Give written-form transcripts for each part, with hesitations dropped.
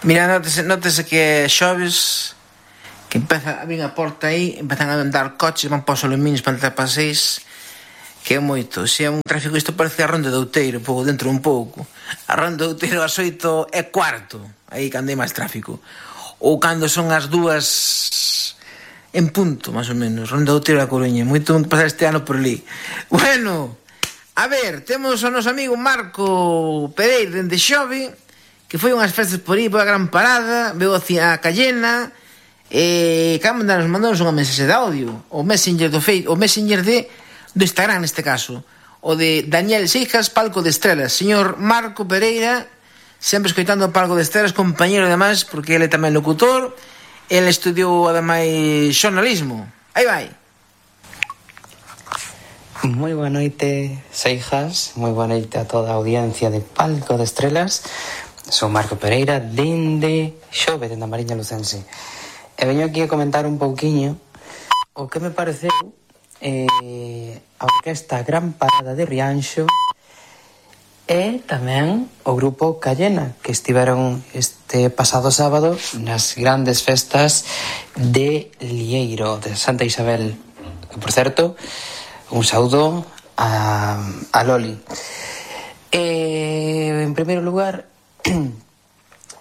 Mira, nótese que é xoves, que empeza a vir a porta aí, empezan a andar coches, van para os aluminios para entrar para 6, que é moito. Se é un tráfico, isto parece a Ronda de Outeiro, pouco dentro un pouco. A Ronda de Outeiro ás 8 é cuarto, aí cando hai máis tráfico. Ou cando son as 2 en punto, máis ou menos. Ronda de Outeiro a Coruña, moito pasar este ano por ali. Bueno, a ver, temos o noso amigo Marco Pereira dende Xove, que foi unhas festas por aí, por a Gran Parada, veo a Cayena, e mandamos unha mensaxe de audio, o Messenger o Messenger do Instagram neste caso, o de Daniel Seijas, Palco de Estrelas. Señor Marco Pereira, sempre escoitando o Palco de Estrelas, compañero ademais, porque ele tamén locutor, ele estudiou ademais xornalismo. Aí vai. Moi boa noite, Seijas, moi boa noite a toda a audiencia de Palco de Estrelas. Sou Marco Pereira, dende Xove, dende a Mariña Lucense. E veño aquí a comentar un pouquiño o que me pareceu a orquesta Gran Parada de Rianxo e tamén o grupo Cayena, que estiveron este pasado sábado nas grandes festas de Lieiro, de Santa Isabel. Que, por certo, un saúdo a Loli. En primeiro lugar,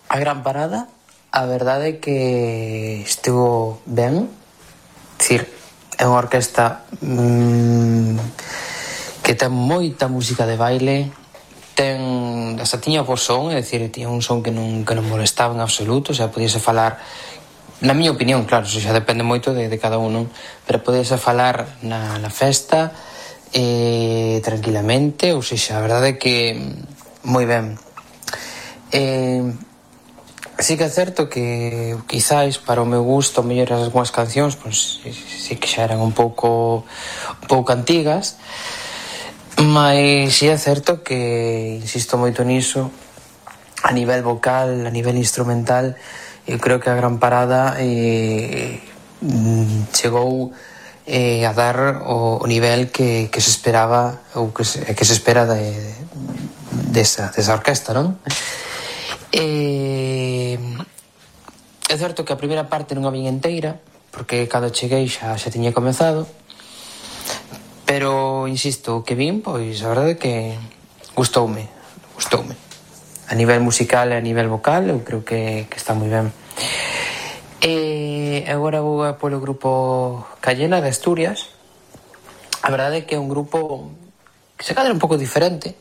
a Gran Parada, a verdade é que estivo ben. Dicir, é unha orquesta que ten moita música de baile, hasta tiña bo son, é dicir, tiña un son que non molestaba en absoluto, o sea, podíase falar, na miña opinión, claro, xa depende moito de cada un, pero podíase falar na festa tranquilamente, ou seja, a verdade é que moi ben. Sí que é certo que quizáis para o meu gusto mellor algunhas cancións pois sí que xa eran un pouco antigas, mas sí é certo que insisto moito niso, a nivel vocal, a nivel instrumental, eu creo que a Gran Parada chegou a dar o nivel que se esperaba ou que se espera desa orquesta, non? É certo que a primeira parte non a vin inteira, porque cando cheguei xa tiña comezado, pero insisto, o que vin, pois a verdade é que gustoume a nivel musical e a nivel vocal, eu creo que está moi ben. E agora vou polo grupo Cayena de Asturias. A verdade é que é un grupo que se cadra un pouco diferente,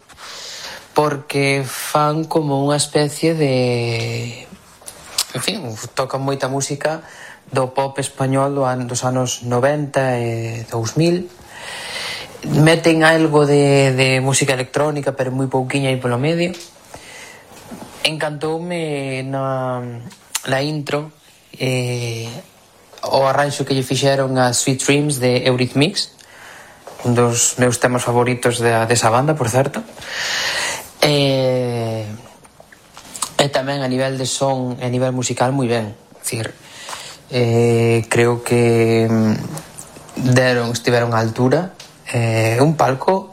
porque fan como unha especie de... En fin, tocan moita música do pop español dos anos 90 e 2000. Meten algo de música electrónica, pero moi pouquiña aí polo medio. Encantoume na intro o arranxo que lle fixeron a Sweet Dreams de Eurythmics, un dos meus temas favoritos desa banda, por certo. E tamén a nivel de son e a nivel musical moi ben, decir, creo que estiveron á altura, un palco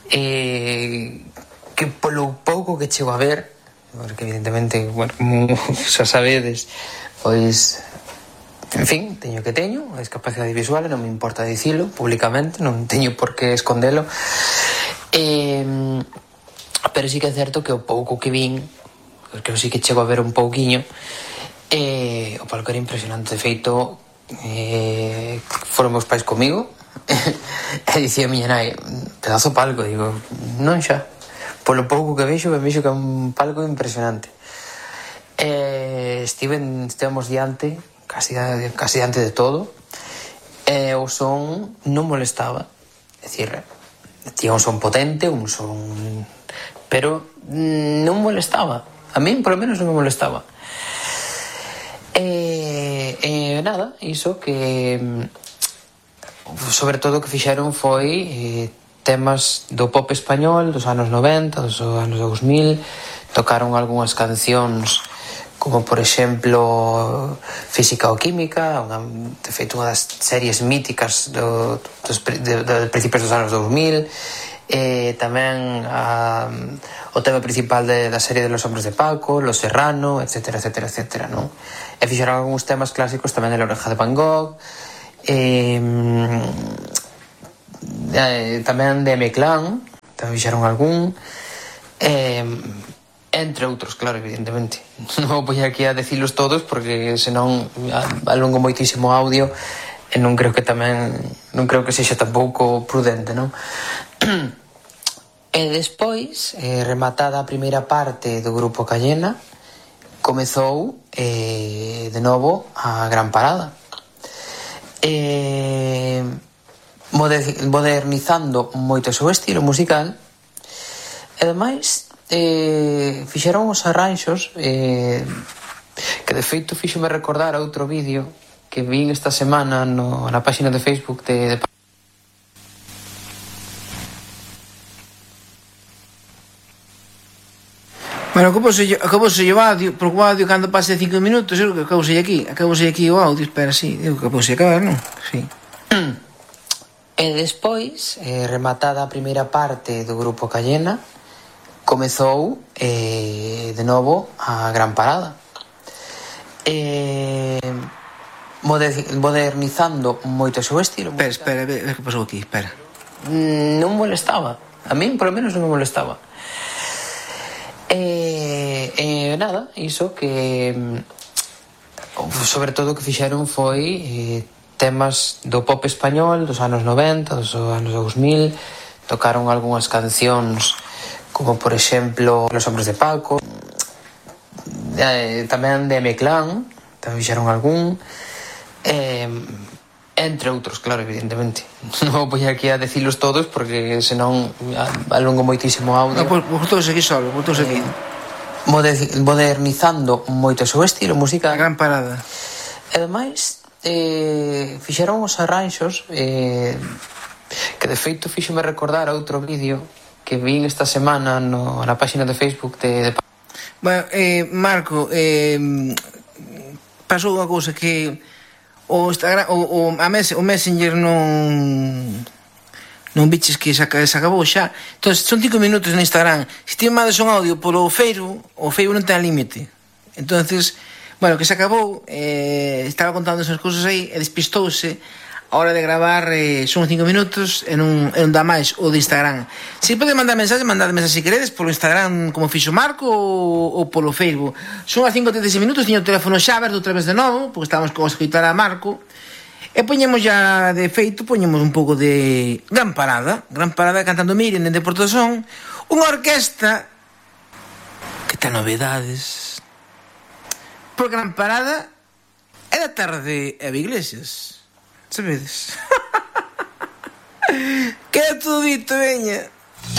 que polo pouco que chego a ver, porque evidentemente, bueno, xa sabedes, pois en fin, teño a discapacidade visual e non me importa dicilo públicamente, non teño por que escondelo, pero sí que é certo que o pouco que vin, porque eu sí que chego a ver un pouquiño, o palco era impresionante. De feito, foron meus pais comigo e dicía a miña nai, pedazo palco, digo, non xa, polo pouco que vexo que é un palco impresionante. Estivemos diante, casi diante de todo, e o son non molestaba, é dicir, tiña un son potente, un son, pero non molestaba, a min polo menos non me molestaba. Nada, iso que sobre todo o que fixeron foi temas do pop español dos anos 90, dos anos 2000, tocaron algunhas cancións como por exemplo Física ou Química, de feito unha das series míticas dos principios dos anos 2000, Tamén o tema principal da serie de Los Hombres de Paco, Los Serrano, etcétera, etcétera, etcétera, non? E fixeron algúns temas clásicos tamén de La Oreja de Van Gogh, tamén de M-Clan, tamén fixeron algún, entre outros, claro, evidentemente. Non vou poñer aquí a decilos todos porque senón alongo moitísimo audio e non creo que sexa tampouco prudente, non? E despois, rematada a primeira parte do grupo Cayena, comezou de novo a gran parada, modernizando moito o seu estilo musical. E ademais fixeron os arranxos que de feito fíxome recordar a outro vídeo que vin esta semana na página de Facebook de Bueno, acabouse o audio, porque o audio cando pase 5 minutos, eu que acabouse aquí o audio, espera, sí, eu que acabouse acabar, non? Sí. E despois, rematada a primeira parte do grupo Cayena, comezou de novo a gran parada, modernizando moito o seu estilo. Espera, a ver que pasou aquí, espera. Non molestaba, a min polo menos non me molestaba. Nada, iso que sobre todo o que fixeron foi temas do pop español dos anos 90, dos anos 2000. Tocaron algunhas cancións como por exemplo Los Hombres de Paco, tamén de M-Clan, tamén fixeron algún, entre outros, claro, evidentemente. Non vou poñer aquí a decilos todos porque senón alongo moitísimo audio. Voltouse aquí solo, voltouse aquí. Modernizando moito o seu estilo musical. A gran parada. E ademais fixeron os arranxos que de feito fíxome recordar a outro vídeo que vin esta semana na página de Facebook de... Bueno, Marco, pasou unha cousa que o Instagram, o Messenger non biches que se acabou xa. Entón, son 5 minutos no Instagram. Se ti mandas un audio polo Facebook, o Facebook non ten límite. Entón, bueno, que se acabou, estaba contando esas cousas aí e despistouse a hora de gravar. Son 5 minutos e non dá máis o de Instagram. Se pode mandar mensaxe, mandadme se queredes polo Instagram como fixo Marco ou polo Facebook. Son as 5:36 minutos, tiño o teléfono xa aberto outra vez de novo porque estábamos con a escoitar a Marco. E poñemos ya de feito, poñemos un pouco de Gran Parada cantando Miriam dende Portosón, unha orquesta que ten novedades. Por Gran Parada é da terra de Eva Iglesias, sabedes? Queda todo dito, veña.